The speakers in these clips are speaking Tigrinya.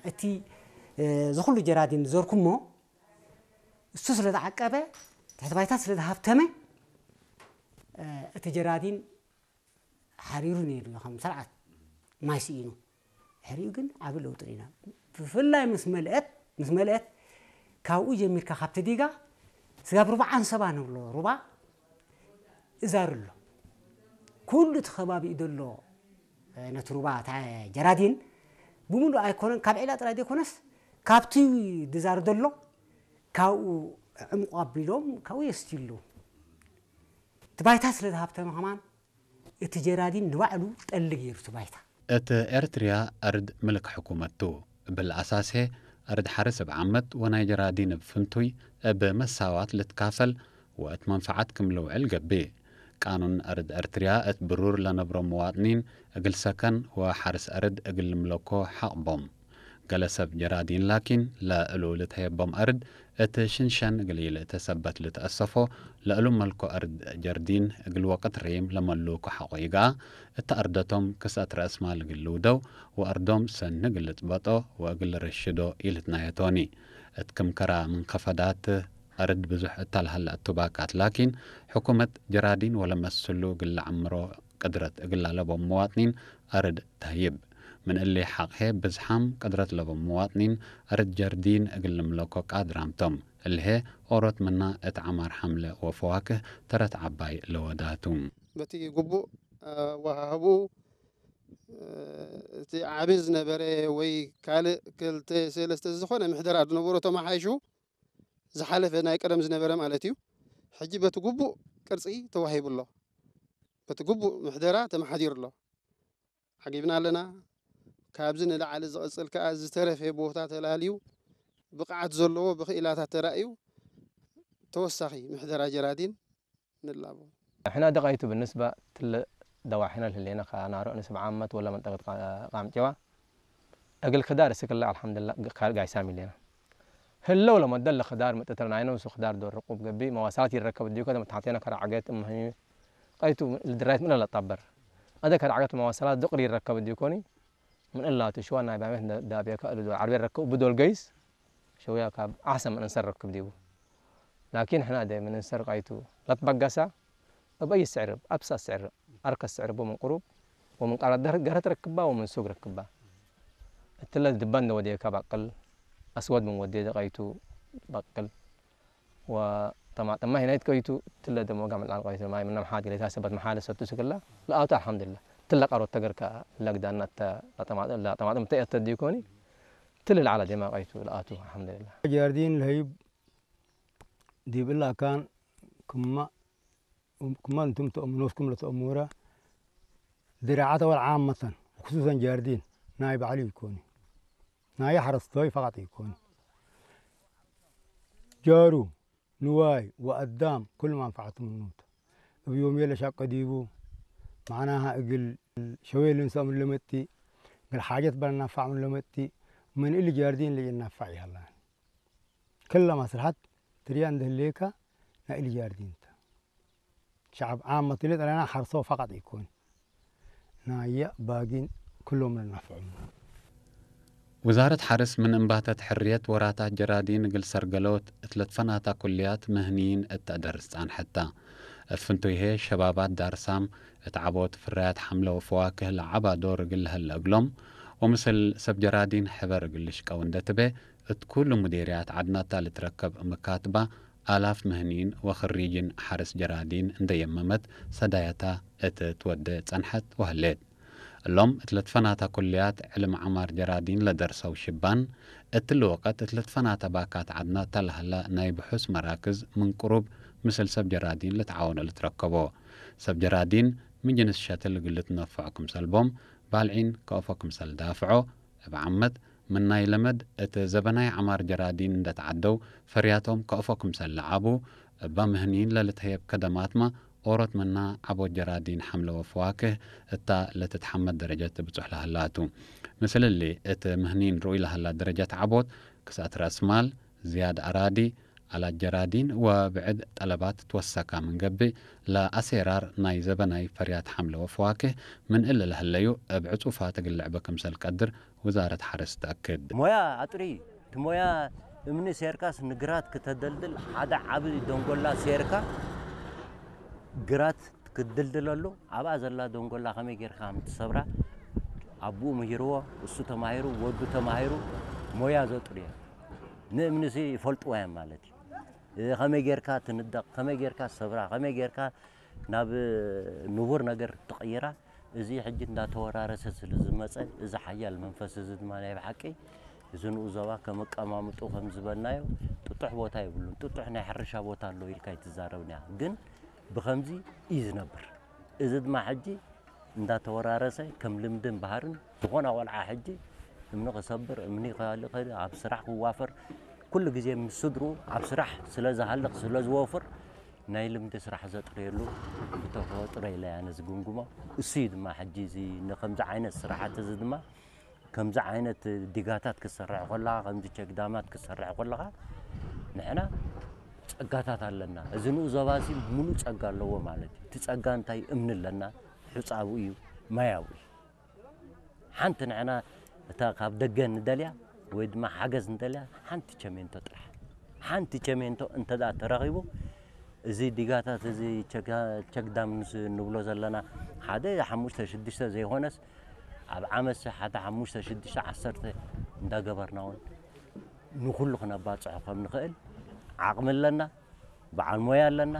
እቲ ዝኹሉ ጀራዲን ዝዘርኩሞ እሱ ስለ ዝዓቀበ፣ ትሕቲ ባይታ ስለ ዝሃብተመ፣ እቲ ጀራዲን ሓሪሩ ነይሩ እዩ፣ ከም ስርዓት ማይ ስኢኑ። ድሕሪኡ ግን ዓቢ ለውጢ ርኢና። ብፍላይ ምስ መልአት ምስ መልአት ካብኡ ጀሚርካ፣ ካብቲ ዲጋ ስጋብ ሩባ ዓንሰባ ንብሎ ሩባ እዛር ኣሎ። ኩሉ እቲ ከባቢኡ ዘሎ ነቲ ሩባ፣ እታ ጀራዲን ብምሉእ ኣይኮነን፣ ካብ ዒላ ጥራይ ዘይኮነስ ካብቲ ድዛር ዘሎ ካብኡ ዕምቑ ኣቢሎም ካብኡ የስትዩ ኣለዉ። እቲ ባይታ ስለ ዝሃብተመ ከማን እቲ ጀራዲን ንባዕሉ ጠሊ ገይሩ እቲ ባይታ። እቲ ኤርትርያ ኣርድ ምልክ ሕኩመቱ እብል ኣሳሴ ኣርድ ሓርስ እብ ዓመት ወናይ ጀራዲን እብ ፍንቱይ እብ መሳዋት ልትካፈል ወእት መንፈዓት ክም ልውዕል ገብእ። ቃኑን ኣርድ ኤርትርያ እት ብሩር ለነብሮ መዋጥኒን እግል ሰከን ወሓርስ ኣርድ እግል ልምለኮ ሓቕቦም። ገለ ሰብ ጀራዲን ላኪን ለእሉ ልትሀየቦም ኣርድ እት ሽንሸን እግል ኢልእተ ሰበት ልትአሰፎ ለእሉ መልኮ ኣርድ ጀርዲን እግል ወቅት ሬም ለመሉኮ ሓቆ ይግኣ። እት ኣርደቶም ክስአት ረእስማል እግል ልውደው ወኣርዶም ሰኒ እግል ልጥበጦ ወእግል ልርሽዶ ኢልትናየቶኒ። እት ክም ከራ ምንከፈዳት ኣርድ ብዙሕ እታ ለሀለ እቱባካት ላኪን ሕኩመት ጀራዲን ወለመስሉ እግል ለዐምሮ ቅድረት እግል ላለቦም መዋጥኒን ኣርድ ተህይብ። ምን እሊ ሓቕሄ ብዝሓም ቅድረት ለቦም መዋጥኒን ኣርድ ጀርዲን እግል ልምለኮ ቃድራምቶም። እልሄ ኦሮት ምና እት ዐማር ሐምለ ወፈዋክህ ተረት ዐባይ ለወዳቱ። በቲ ግቡእ ኣወሃህብኡ፣ እቲ ዓቢ ዝነበረ ወይ ካልእ ክልተ ሰለስተ ዝኾነ ምሕደራ ዝነበሮ ተመሓይሹ ዝሓለፈ ናይ ቀደም ዝነበረ ማለት እዩ። ሕጂ በቲ ግቡእ ቅርጺ ተዋሂቡ ኣሎ። በቲ ግቡእ ምሕደራ ተመሓዲሩ ኣሎ። ዓጊብና ኣለና። ካብዚ ንላዕሊ ዝቕጽል ከኣ ዝተረፈ ቦታ ተላልዩ ብቕዓት ዘለዎ ብኽኢላታት ተራእዩ ተወሳኺ ምሕደራ ጀራዲን ንላቦ። احنا دقيتو بالنسبة تل دواحنا اللي هنا خا نارو نسب عامة ولا منطقة قا- قام جوا. أقل خدار سكلا الحمد لله قال قاي سامي لنا. هلو لما دل خدار متتر ناينو سو خدار دور رقوب قبي مواصلات يركب ديو كذا متحطينا كرا عقيت أم هني. قيتو الدرايت من لا طبر. هذا كرا عقيت مواصلات دقري يركب ديو كوني. من الله تشوى نايبا مثل دابيا كألو دو عربي ركب بدول قيس. شوية كاب أحسن من أنسر ركب ديو. لكن إحنا دايما أنسر قيتو لا تبقسا. بأي سعر، أبسط سعر، أرخص سعر بو من قروب، ومن قرار در- قرة ركبة ومن سوق ركبة. التلة دبان ودي كبقل، أسود من ودي دقيتو بقل. وطماطم ما هنا يتكويتو تلة دمو قام الآن قيتو ما من محاد لي تاسبت محال ستو سكلا. لا أوتا الحمد لله. تلة قرو تقر كا لقدان نتا لا طماطم لا طماطم تأتى ديكوني. تلة على دماغ قيتو لا أوتو الحمد لله. جاردين الهيب دي بالله كان كما كما أنتم تؤمنوكم لتأمورا دراعة والعامة خصوصا جاردين نايب علي يكوني ناي حرس توي فقط يكوني جارو نواي وقدام كل ما نفعتم النوت بيوم يلا شاق ديبو معناها اقل شوي لنسى من لمتي قال حاجات بلا نفع من لمتي من اللي جاردين اللي ينفع يلا كل مصلحة تريان دهليكا نا اللي جاردين تا شعب عامة اللي أنا حرصو فقط يكون ናየ ባጊን ኩሎም ንናፍዖም። ውዛረት ሓርስ ምን እምባተት ሕርየት ወራታት ጀራዲን እግል ሰርገሎት እት ለትፈናታ ኩልያት ምህንይን እት ተአደርስ ጻንሐት ታ። እት ፍንቱይሄ ሸባባት ዳርሳም እት ዐቦት ፍራያት ሐምለ ወፈዋክህ ለዐባ ዶር እግል ለሀለ እግሎም ወምስል ሰብ ጀራዲን ሕበር እግል ልሽቀው እንደ ትቤ እት ኩሉ ሙዴርያት ዐድናታ ልትረከብ እምካትባ ኣላፍ ምህኒን ወኽሪጅን ሐርስ ጀራዲን እንደ የመመት ሰዳያታ እት ትወዴ ጸንሐት ወሀሌት። እሎም እት ለትፈናታ ኩልያት ዕልም ዐማር ጀራዲን ለደርሰው ሽባን፣ እትሊ ወቀት እት ለትፈናታ ባካት ዐድናታ ለሀላ ናይ ብሑስ መራክዝ ምን ቅሩብ ምስል ሰብ ጀራዲን ልትዓወኖ ልትረከቦ። ሰብ ጀራዲን ምን ጅንስ ሸትል እግል ልትነፈዖ ክምሰል ቦም ባልዒን ከአፎ ክምሰል ዳፍዖ፣ እብ ዓመት ምን ናይ ለመድ እት ዘበናይ ዐማር ጀራዲን እንደ ተዓደው ፈርያቶም ከአፎ ክምሰል ለዓቡ፣ እባ ምህኒን ለልትሀየብ ከደማትማ ኦሮት ምና ዐቦት ጀራዲን ሐምለ ወፈዋክህ እታ ለትትሐመድ ደረጀት ትብጹሕ ለሀላቱ። ምስል እሊ እት ምህኒን ርኡይ ለሀላ ደረጀት ዐቦት ክስአት ረአስማል፣ ዝያድ አራዲ፣ ኣላጀራዲን ወብዕድ ጠለባት ትወሰካ ምንገብእ ለኣሴራር ናይ ዘበናይ ፈርያት ሓምለ ወፈዋክህ ምን እለ ለህለዩ እብ ዕጹፋ ትግልዕ በክምሰል ቀድር ውዛረት ሓረስ ተኣክድ። ሞያ ኣጥሪ፣ እቲ ሞያ እምኒ ሴርካስ ንግራት ክተደልድል ሓደ ዓቢ ደንጎላ ሴርካ ግራት ክትድልድለሉ ኣብኣ ዘላ ደንጎላ ከመይ ጌርካ ከም ትሰብራ ኣቦኡ ምሂርዎ፣ እሱ ተማሂሩ፣ ወዱ ተማሂሩ ሞያ ዘጥርዮ ንእምኒሲ ይፈልጥዎ እዮም ማለት እዩ። እ፣ ከመይ ጌርካ ትንደቕ፣ ከመይ ጌርካ ትሰብራ፣ ከመይ ጌርካ ናብ ንቡር ነገር ትቕይራ፣ እዚ ሕጂ እንዳተወራረሰ ስለ ዝመጸ፣ እዚ ሓያል መንፈስ እዚ ድማ ናይ ብሓቂ እዚ ንኡ ዞባ ከም ኣቀማምጡ ከም ዝበልናዮ ጥጡሕ ቦታ የብሉን። ጥጡሕ ናይ ሕርሻ ቦታ ኣሎ ኢልካ ኣይትዛረብን ኢኻ። ግን ብኸምዚ እዩ ዝነብር። እዚ ድማ ሕጂ እንዳተወራረሰ ከም ልምድን ባህርን ዝኾነ ቆልዓ ሕጂ እምኒ ክሰብር፣ እምኒ ክኸልእ፣ ኣብ ስራሕ ክዋፈር፣ ኩሉ ግዜ ምስ ስድርኡ ኣብ ስራሕ ስለ ዝሃልቕ ስለ ዝወፍር ናይ ልምዲ ስራሕ ዘጥርየሉ ብተፈጥሮ ኢለ እያ ነዚ ግምግሞ። እሱ እዩ ድማ ሕጂ እዚ ንከምዚ ዓይነት ስራሓት እዚ ድማ ከምዚ ዓይነት ዲጋታት ክትሰርሕ ከለኻ፣ ከምዚ ቸክዳማት ክትሰርሕ ከለኻ ንሕና ጸጋታት ኣለና። እዚ ንኡ ዞባ እዚ ሙሉእ ጸጋ ኣለዎ ማለት እዩ። እቲ ጸጋ እንታይ? እምኒ ኣለና፣ ሑጻ ኣብኡ እዩ፣ ማይ ኣብኡ እዩ። ሓንቲ ንሕና እታ ካብ ደገ ንደልያ ወይ ድማ ሓገዝ ንደልያ ሓንቲ ቸሜንቶ ጥራሕ። ሓንቲ ቸሜንቶ እንተ ደኣ ተረኺቡ፣ እዚ ዲጋታት እዚ ቸጋ-፣ ቸክዳም ንስ-፣ ንብሎ ዘለና ሓደ ሓሙሽተ ሽዱሽተ ዘይኮነስ ኣብ ዓመት ሓደ ሓሙሽተ ሽዱሽተ ዓሰርተ እንዳገበርና እውን ንኹሉ ክነባጽሖ ከም ንኽእል ዓቕሚ ኣለና፣ በዓል ሞያ ኣለና።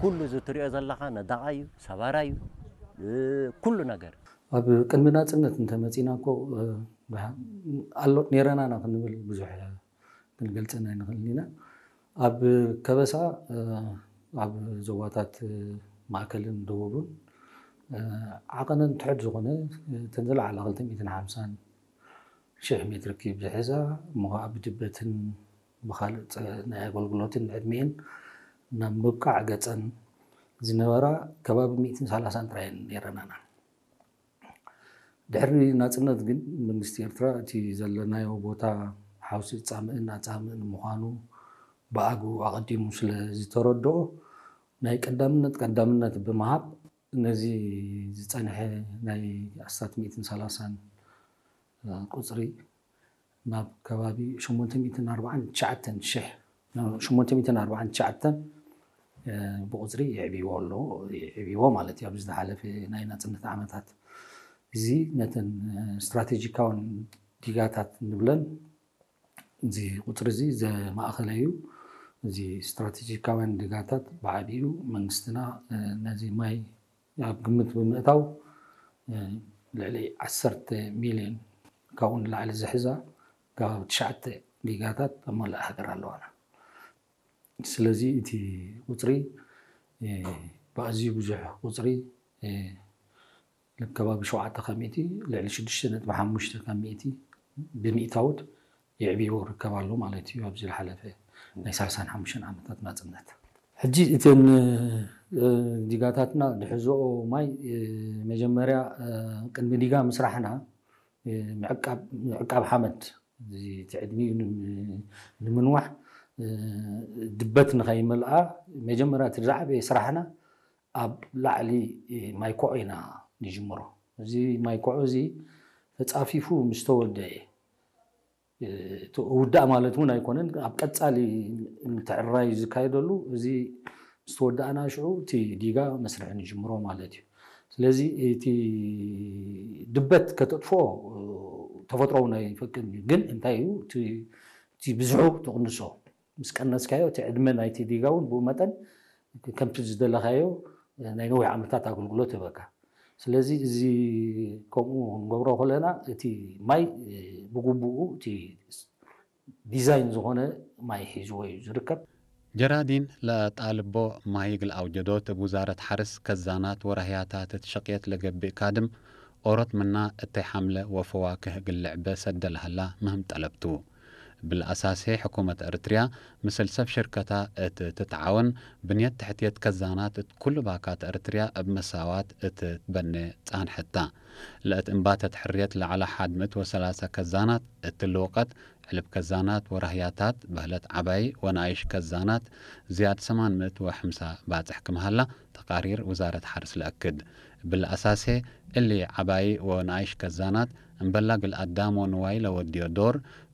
ኩሉ እዚ ትሪኦ ዘለኻ ነዳቓይ እዩ፣ ሰባራይ እዩ፣ እ፣ ኩሉ ነገር። ኣብ ቅድሚ ናጽነት እንተመጺና እኮ፣ እ፣ ብሓ-፣ ኣሎ ነይረና ኢና ክንብል ብዙሕ ክንገልጸን ኣይንኽእልን ኢና። ኣብ ከበሳ፣ እ፣ ኣብ ዞባታት፣ እ፣ ማእከልን ደቡብን፣ እ፣ ዓቐነን ትሑት ዝኾነ፣ እ፣ እተን ዝለዓላ ክልተ ሚእትን ሓምሳን ሽሕ ሜትር ኪዩብ ዝሕዛ እሞ ኸዓ ብድበትን ብኻልእ ጸ-፣ ናይ ኣገልግሎትን ዕድሜን ናብ ምብቃዕ ገጸን ዝነበራ ከባቢ ሚእትን ሰላሳን ጥራይ እየን ነይረናና። ድሕሪ ናጽነት ግን መንግስቲ ኤርትራ እቲ ዘለናዮ ቦታ ሓውሲ ጻምእን ኣጻምእን ምዃኑ ብኣግኡ ኣቐዲሙ ስለ ዝተረድኦ ናይ ቀዳምነት ቀዳምነት ብምሃብ ነዚ ዝጸንሐ ናይ ኣስታት ሚእትን ሰላሳን ቁጽሪ ናብ ከባቢ ሸሞንተ ሚእትን ኣርባዓን ትሽዓተን ሽሕ፣ ሸሞንተ ሚእትን ኣርባዓን ትሽዓተን፣ እ፣ ብቁጽሪ የዕብይዎ ኣሎ፣ የዕብይዎ ማለት እዩ። ኣብዚ ዝሓለፈ ናይ ናጽነት ዓመታት እዚ ነተን፣ እ፣ ስትራቴጂካውን ዲጋታት ንብለን እዚ ቁጽሪ እዚ ዘማእኸለ እዩ። እዚ ስትራቴጂካውያን ዲጋታት ብዓቢኡ መንግስትና፣ እ፣ ነዚ ማይ ኣብ ግምት ብምእታው፣ እ፣ ልዕሊ ዓሰርተ ሚልዮን ካብኡ ንላዕሊ ዝሕዛ ከባቢ ትሽዓተ ዲጋታት ኣብ መላእ ሃገር ኣለዋና። ስለዚ እቲ ቁጽሪ፣ እ፣ ብኣዝዩ ብዙሕ ቁጽሪ፣ እ፣ ከባቢ ሸውዓተ ካብ ሚእቲ፣ ልዕሊ ሽዱሽተ ነጥቢ ሓሙሽተ ካብ ሚእቲ ብሚእታውት የዕብይዎ ይርከብ ኣሎ ማለት እዩ። ኣብዚ ዝሓለፈ ናይ ሰላሳን ሓሙሽተን ዓመታት ናጽነት። ሕጂ እተን፣ እ፣ ዲጋታትና ድሕዝኦ ማይ፣ እ፣ መጀመርያ፣ እ፣ ቅድሚ ዲጋ ምስራሕና፣ እ፣ ምዕቃብ፣ ምዕቃብ ሓመድ፣ እዚ እቲ ዕድሚኡ ንም-፣ ንምንዋሕ፣ እ፣ ድበት ንኸይመልኣ መጀመርያ እቲ ዝዓበየ ስራሕና ኣብ ላዕሊ ማይ ኮዖ ኢና ንጅምሮ። እዚ ማይ ኮዖ እዚ ተጻፊፉ ምስ ተወደአ፣ እቲ ውዳእ ማለት እውን ኣይኮነን፣ ኣብ ቀጻሊ ምትዕርራይ ዝካየደሉ፣ እዚ ምስ ተወዳእና ሽዑ እቲ ዲጋ መስርሒ ንጅምሮ ማለት እዩ። ስለዚ እቲ ድበት ከተጥፍኦ ተፈጥሮውን ኣይፈቅድን እዩ። ግን እንታይ እዩ እቲ፣ እቲ ብዝሑ ትቕንሶ። ምስ ቀነስካዮ እቲ ዕድመ ናይቲ ዲጋ እውን ብኡ መጠን ከምቲ ዝደለኻዮ ናይ ነዊሕ ዓመታት ኣገልግሎት ይህበካ። ስለዚ እዚ ከምኡ ክንገብሮ ከለና እቲ ማይ ብግቡኡ እቲ ዲዛይን ዝኾነ ማይ ሒዝዎ እዩ ዝርከብ። ጀራዲን ለጣልቦ ማይ እግል ኣውጀዶት እብ ውዛረት ሐርስ ከዛናት ወራህያታት እት ሸቅየት ለገብእ ካድም ኦሮት ምና እተይ ሐምለ ወፈዋክህ እግል ልዕበ ሰደ ለሀላ ምህም ጠለብቱ። ብልኣሳሴ ሕኩመት ኤርትርያ ምስል ሰብ ሽርከታ እት ትትዓወን ብንየት ትሕትየት ከዛናት እት ኩሉ ባካት ኤርትርያ እብ መሳዋት እት ትበነ ጻንሐታ። ለእት እምባተት ሕርየት ለዐላ ሓድ ምእት ወሰላሳ ከዛናት እት ልውቀት ዕልብ ከዛናት ወራህያታት በህለት ዓባይ ወነኣይሽ ከዛናት ዝያድ ሰማን ምእት ወሐምሳ ባጽሕ ክምሃላ ተቃሪር ውዛረት ሓርስ ለእክድ። ብልኣሳሴ እሊ ዓባይ ወነኣይሽ ከዛናት እምበላ ግል ኣዳም ወንዋይ ለወድዮ ዶር